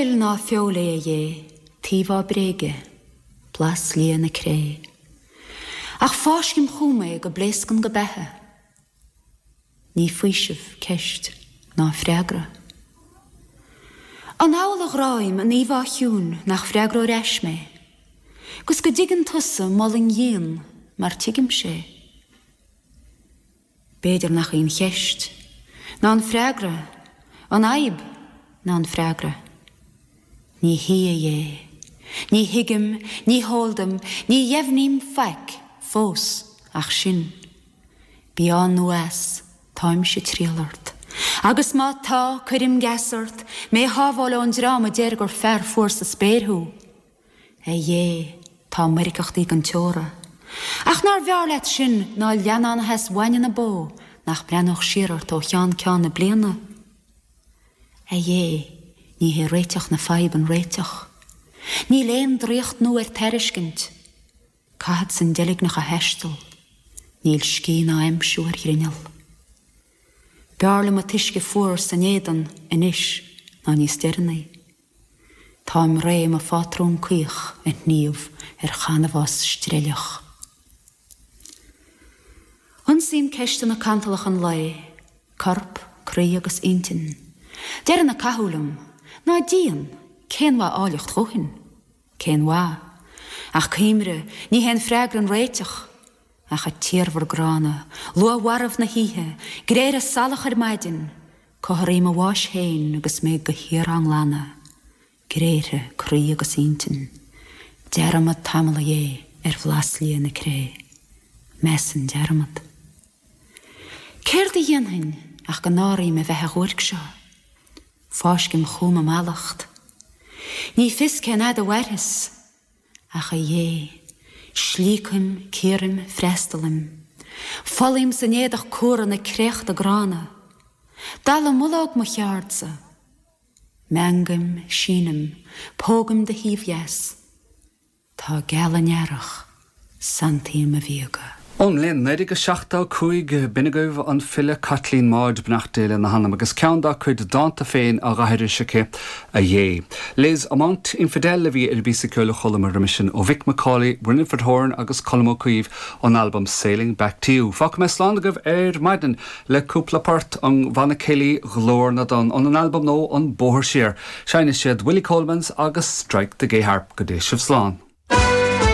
fuil ná feoil é, a Dhé, t'íomhá bréige, blas liath na cré. Ach fáiscim chugam é go bpléascann go beatha. Ní faoiseamh ceist ná freagra. An amhlaidh a ghráim an íomhá chiúin nach bhfreagróidh ar ais mé, 'gus go dtuigeann tusa m'fhulaing dhian mar tuigimse é? B'fhéidir nach í an cheist ná an freagra, an fhadhb ná an freagra. Ní hí, a Dhé. Ní thuigim, ní heol dom, ní dheimhním faic fós ach sin. Bí ann nó as, táimse ag triall ort. Agus má tá, cuirim geasa ort, mé a shábháil ón dream a deir gur fear fuar sa spéir thú. A Dhé, tá meirgeachtaí gan teora. Ach nár bhfearr leat sin ná leannán a sheas bhainne na bó nach mbreathnódh siar ort ó cheann ceann na bliana? A Dhé, ní hé réiteach na faidhbe an réiteach. Níl aon draíocht nua ar tairiscint. Caithfeadsa an deilgneach a thaisteal. Níl scíth ná aimsiú ar ghrinneall. B'fhearr liom an t-uisce fuar san éadan anois ná níos deireanaí. Táim réidh mo phátrún caoch a shníomh ar chanbhás streilleach. Ionsaím ceisteanna cantalacha an lae, corp, croí agus intinn. Deireann ag cathú liom, Ná díon, cén mhaith áilleacht dhóthain? Cén mhaith? Ach cuimre, ní hé an freagra an réiteach. Ach a tiarmhar gránna, luath-mharbh na hoíche, gréithre salach ar maidin, comharthaí mo bháis féin agus mé de shíor á nglanadh, gréithre croí agus intinn. Dearmad tamall a Dhé ar bhlas liath na cré. Measain dearmad. Céard a dhéanfainn ach go náirím a bheatha dhuairc seo? Fáiscim chugam i mallacht. Ní fios cén fhad a mhairfeas. Ach a Dhé, slíocaim, cíoraim, freastalaim. Folaím san éadach cumhra na créachta gránna. Dallamullóg mo cheardsa. Meangaim, sínim, pógaim do thaobh dheas. Tá geal an earrach, santaím mo bhíoga. Ón mbliain 1975, b'in agaibh an file Caitlín Maude, beannacht Dé lena hanam, agus ceann dá cuid dánta féin á dh'aithris aici, A Dhé. Les Amants Infidèles a bhí ar an bpíosa ceoil a chualamar roimis sin ó Mhick McCauley, Winifred Horan agus Colm Ó Caoimh ón albam Sailing Back to You. Fágfaidh mé slán agaibh ar maidin le cúpla port ón bhanna céilí Glór na dTonn, óna n-albam nua An Bóthar Siar. Seinnfidh siad Willie Coleman's agus Strike the Gay Harp. Go dté sibh slán.